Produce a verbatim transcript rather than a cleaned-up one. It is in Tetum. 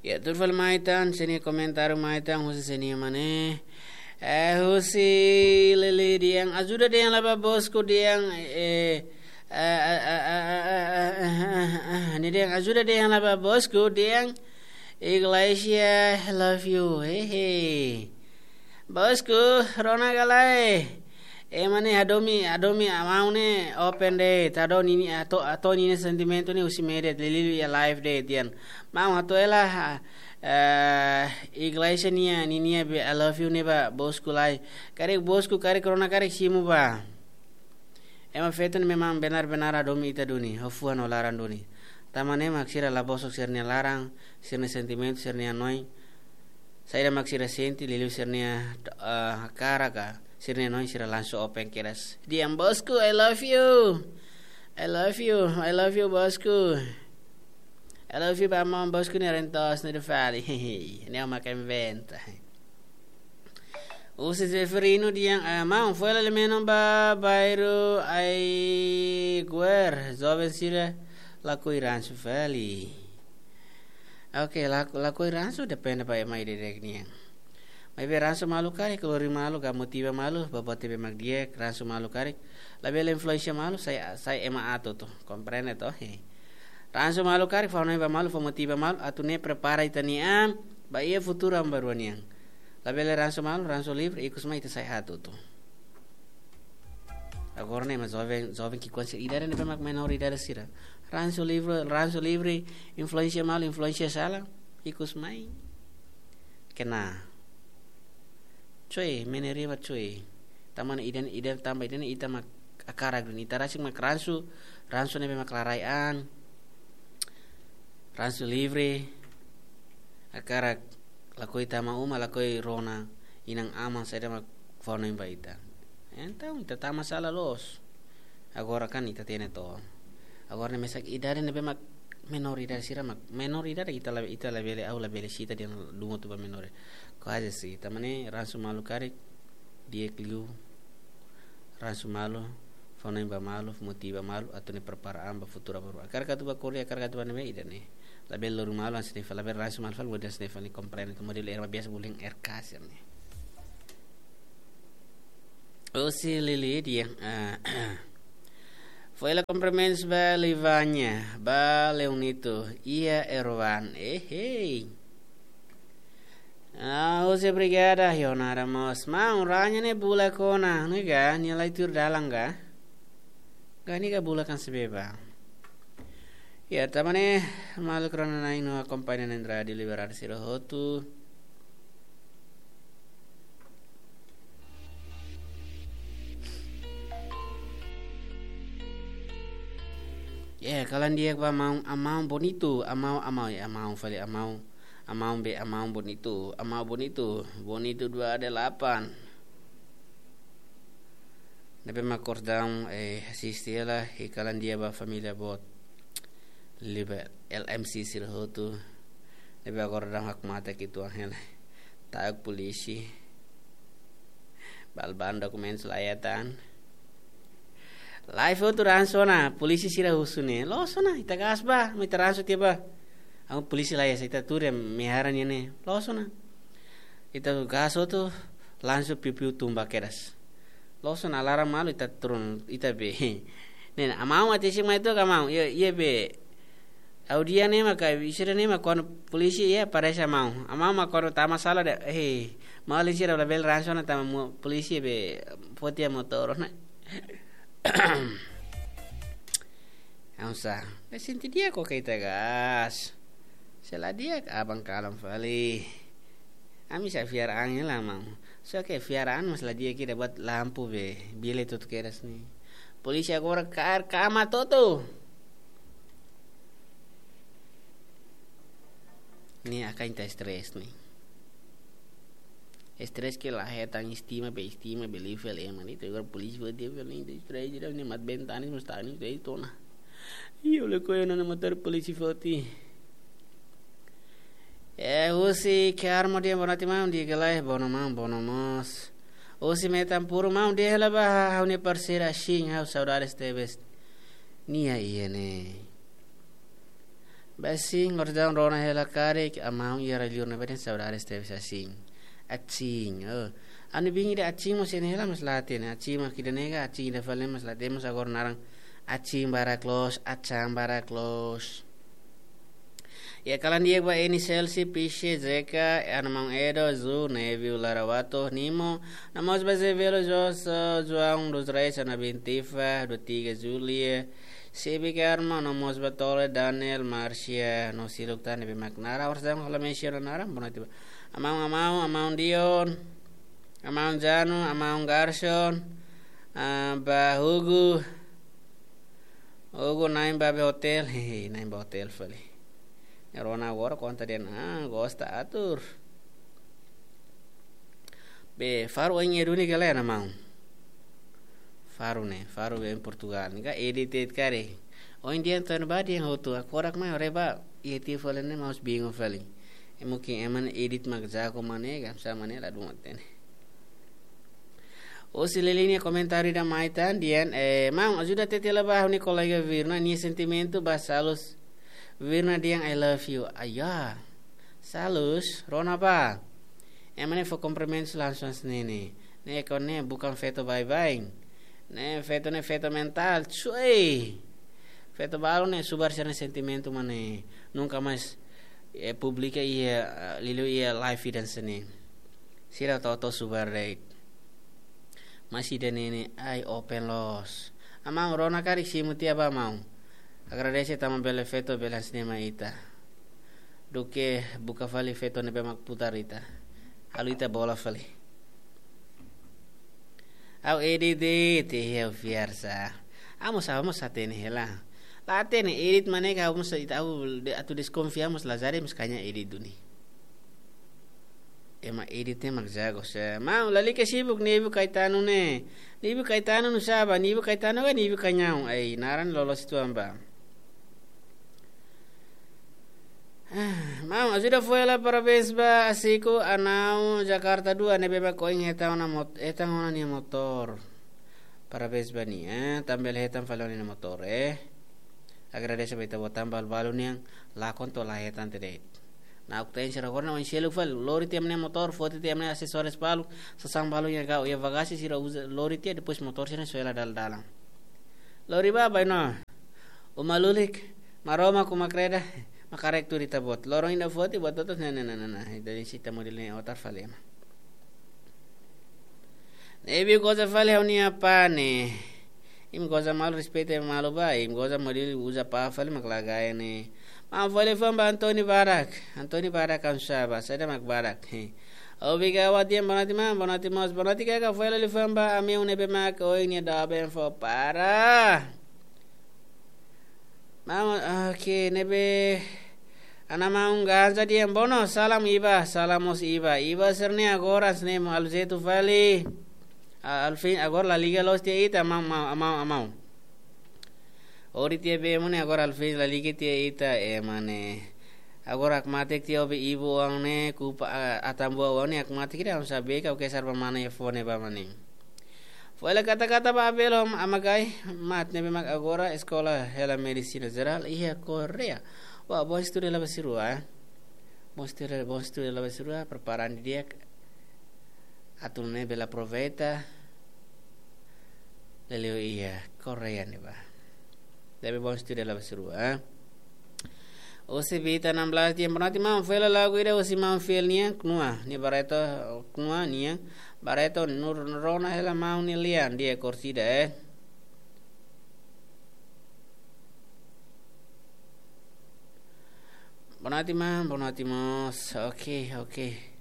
Ya, tuir fali mai tan, sira-nia komentáriu mai tan, husi sira-nia mane. Eh, husi Lili dehan, ajuda dehan lai ba bosku dehan, eh, eh, eh, eh, eh, eh, eh, eh, eh, eh, nia dehan, ajuda dehan lai ba bosku dehan, Iglesia, I love you, hehe. Bosku, rona ka lae. Ema ne'e hadomi, hadomi maun ne'e open de'it, hato'o ninia, hato'o, hato'o ninia sentimentu ne'e husi media, liuliu iha live de'it, dehan. Maun hato'o hela, eh, Iglesia nia, ninia be, I love you ne'e ba bosku lai. Karik bosku, karik rona, karik simu ba. Ema feto ne'e memang benar-benar hadomi ita duni, ho fuan ho laran duni. Tanba ne'e mak sira la bosok sira-nia laran, sira-nia sentimentu, sira-nia hanoin. Saida mak sira sente, liuliu sira-nia, eh, hakarak ka, sira-nia hanoin sira langsung open kedas. Dehan bosku, I love you. I love you, I love you, bosku. I love you ba maun bosku nia rentos no de fali. Ne'e mak inventa. Husi Zeferino dehan, eh, maun, foin hela menon ba bairru Aiguer, joven sira lakohi ransu fali. Oke, lak-, lakohi ransu depende ba ema ida-idak nian. Maibé ransu malu karik, lori malu, ka motiva malu, ba buat ne'ebé mak di'ak, ransu malu karik. Labele influensia malu, sai, sai ema aat hotu, komprende to? He. Ransu malu karik, fó hanoin ba malu, fó motiva malu, atu nune'e prepara ita-nia an ba iha futuru aban-bainrua nian. Labele ransu malu, ransu livre, ikus mai ita sai aat hotu. Agora ne'e ema joven, joven ki'ikoan sira, idade ne'ebé mak menor idade sira. Ransu livre, ransu livre, influensia malu, influensia sala, ikus mai. Kena. Coe, meneriba coe. Tanba ida-ne'e, ida-ne'e, tanba ida-ne'e ita mak hakarak duni, ita rasik mak ransu, ransu ne'ebé mak la rai an, ransu livre, hakarak lakohi tama uma, lakohi rona inan-aman, saida mak fó hanoin ba ita. Entaun, ita tama sala loos. Agora kan ita hatene to. Agora ne'e mesak idade ne'ebé mak menor idade sira mak. Menor idade ita la, ita labele, ha'u labele sita dehan dungo tu ba menor. Kuaze sei. Tanba ne'e ransu malu karik, di'ak liu. Ransu malu, fó hanoin ba malu, motiva malu, atu nune'e prepara an ba futuru balu. Hakarak atu ba ko'alia, hakarak atu ba ne'ebé ida-ne'e. Labele lori malu, hanesan ne'e fali, labele ransu malu fali, modelu hanesan ne'e fali, komprende, modelu ema biasa bullying R K sira-ne'e. Husi Lili dehan, ah, foin hela kumprimentus ba Livania, ba Leonito, iha Erwan, eh, hei. Ah, husi Brigada, Yonara mós. Maun, ranya ne'e bulak ona, ne'e ka, nia la tuur dalan ka. Ka nia ka bulak hanesan ne'ebé ba. Ya, tanba ne'e, maluk rona-na'in no akompaña Rádiu Liberdade sira hotu. Ya, kalan di'ak ba maun, amaun bonitu, amaun, amaun, ya, amaun fali, amaun, amaun be, amaun bonitu, amaun bonitu, bonitu dua delapan. Ne'ebé mak kordang, eh, asiste hela, i kalan di'ak ba família boot. Liuliu L M C sira hotu. Ne'ebé agora daudaun hakmatek uitoan hela. Ta'uk polísia. Bal-ban dokumentus la iha tan. Live hotu ransu ona, polísia sira husu ne'e. Loos ona, ita gas ba, mak ita ransu tiha ba. Amu polísia la iha, ita tuur iha Mehara nian ne'e. Loos ona. Ita gas hotu, langsung piu-piu tumba kedas. Loos ona, alarma malu ita turun, ita be. Ne'e, amaun atu simu mai to'ok ka maun. Iha, iha be. Ha'u dehan ne'e maka, sira ne'e maka, kuandu polísia iha, parese amaun. Amaun maka kuandu tama sala de'it, eh, maun sira labele ransu ona tanba polísia be, foti motór ona. Ha'u sá, be sente di'ak ka ita gas. Se la di'ak, aban kalan fali. Ami sá fiar an hela maun. Só ke fiar an mas la di'ak ida buat lampu be, bele tutu kedas ne'e. Polísia agora kaer kama hotu. Ne'e hakarak ita stress ne'e. Stress ke la hetan, estima be, estima be, liu fali ema ne'e. Agora polísia foti fali ne'e, stress ida ne'e, mat bentanis mas tanis be tona. Io le koyo nana matar polísia foti. Eh, husi Kiar mo dia bonati maun, dia gelai, bono maun, bono mós. Husi Metan Puru maun, dia hela ba, ha'u-nia parseira Shin, ha'u saudades tebes. Nia iha ne'e. Ba sin, orsida rona hela karik, amaun iha rai-liur ne'ebá dehan saudades tebes asin. Asin, oh. Anu bin ida asin mós iha ne'e hela mas la hatene, asin mak ida ne'e ka, asin ida fali mas la hatene, mós agora naran asin barak loos, asin barak loos. Iha kalan di'ak ba Eni Selsi, Pisce, Zeka, Ana Maun Edo, Zu, Nevi, Lara Wato, Nimo, no mós ba Zé Velo, Jos, João dos Reis, Ana Bintifa, Dua Tiga, Julia, Sibi Karma, no mós ba Tole, Daniel, Marcia, no seluk tan ne'ebé mak naran, orsida ha'u la mensiona naran, bona tiba. Amaun, amaun, amaun Dion, amaun Janu, amaun Garson, ah, ba Hugo, Hugo na'in ba be hotel, hehe, na'in ba hotel fali. Rona agora konta dehan, ah, gosta atur. Be, faru oin iha duni ka lae, Ana Maun? Faru ne'e, faru be em Portugal. Ne'e ka edit de'it karik. Oin dehan to'o ne'ebá dehan hotu, agora mai haree ba, iha tiha fali ne'e mós bingung fali. Ema ke ema ne'e edit mak jago mak ne'e, ka, sa mak ne'e la dún hatene. Husi Lili nia komentáriu ida mai tan dehan, eh, maun, ajuda hatete hela ba ha'u-nia kolega Virna, nia sentimentu ba Salus. Virna dehan, "I love you." Ayá. Salus, rona bá. Ema ne'e fó kumprimentus langsung hanesan ne'e. Ne'e kona ne'e bukan feto baibain. Ne'e feto ne'e feto mentál. Cuy. Feto balu ne'e subar sira-nia sentimentu mak ne'e. Nunka mais, eh, publika iha, eh, liuliu iha live ida hanesan ne'e. Sira hotu-hotu subar de'it. Mas ida-ne'e ne'e, ai, open loos. Amaun, rona karik simu tiha bá, maun. Agradese tanba bele feto bele hanesan ne'e mai ita. Duké buka fali feto ne'ebé mak putar ita. Halo ita bola fali. Ha'u edit de'it, ha'u fiar sá. Ha'u mós, ha'u mós hatene hela. La hatene edit mak ne'e ka, ha'u mós ita, ha'u de-, atu deskonfia mós lazare mós kaña edit duni. Ema edit ne'e mak jago sá. Maun, lalika sibuk Nibu Caetano ne'e. Nibu Caetano nusá bá, Nibu Caetano ka Nibu Cañão. Ai, naran loloos uitoan bá. Ah, maun, ajuda fó hela parabéns ba Asiko Anau Jakarta dua ne'ebé mak ohin hetan ona mot-, hetan ona nia motór. Parabéns ba nia, eh, tanba bele hetan fali ona nia motór, eh. Agradese ba ita-boot tanba balu-balu nian lakon to'o la hetan tiha de'it. Na'ok-teen sira agora ne'e oin seluk fali, lori tiha ema nia motór, foti tiha ema nia asesóriu balu, sasán balu iha kau, iha bagasi sira uza lori tiha, depois motór sira ne'e soe hela dala-dalan. Lori bá, baibain ona. Uma lulik, Maromak, uma kreda, mak haree tuir ita-boot. Loron ida foti, buat hotu-hotu, nah, nah, nah, nah, nah. Ita dehan se ita model ne'e otar fali ema. Ne'ebé goza fali ha'u-nia apá ne'e. Imi goza malu, respeita malu bá, imi goza model uza pá fali mak la gaya ne'e. Maun, fó hela liafuan ba Antoni barak. Antoni barak kan sá bá, saida mak barak. He. Obrigadu, Wadian, boa noite, maun, boa noite, moos, boa noite, kaka, fó hela liafuan ba ami ne'ebé mak ohin nia doben fó para. Maun, oke, ne'ebé Ana Maun Ganja dehan bono, salam Iba, salam mós Iba. Iba sira-ne'e agora hanesan ne'e mak aluzetu fali. A-, alfin agora la liga loos tiha ita, maun, maun, maun, maun. Hori tiha be ema ne'e agora alfin la liga tiha ita, ema ne'e. Agora hakmatek tiha ó be ibu oan ne'e, kupa, a, atambua oan ne'e hakmatek ida, ha'u sá be ka, oke, sar ba mana iha fone ba mane. Fó hela kata-kata ba Abel ho Amagai Mat ne'ebé mak agora eskola hela medisina jerál iha Koreia. Wah, bom estudu hela ba sira-rua, eh. Bom estudu, bom estudu hela ba sira-rua, prepara an didi'ak. Atu nune'e bele aproveita. Liuliu iha Koreia ne'ebá. Ne'ebé bom estudu hela ba sira-rua, eh. Husi Vita enam belas dehan boa noite maun, fó hela lagu ida husi maun fiel nian, Knua, nia Barreto, Knua nian, Barreto, Nur, rona hela maun nia lian, nia korsida, eh. Boa noite maun, boa noite moos. Oke, oke.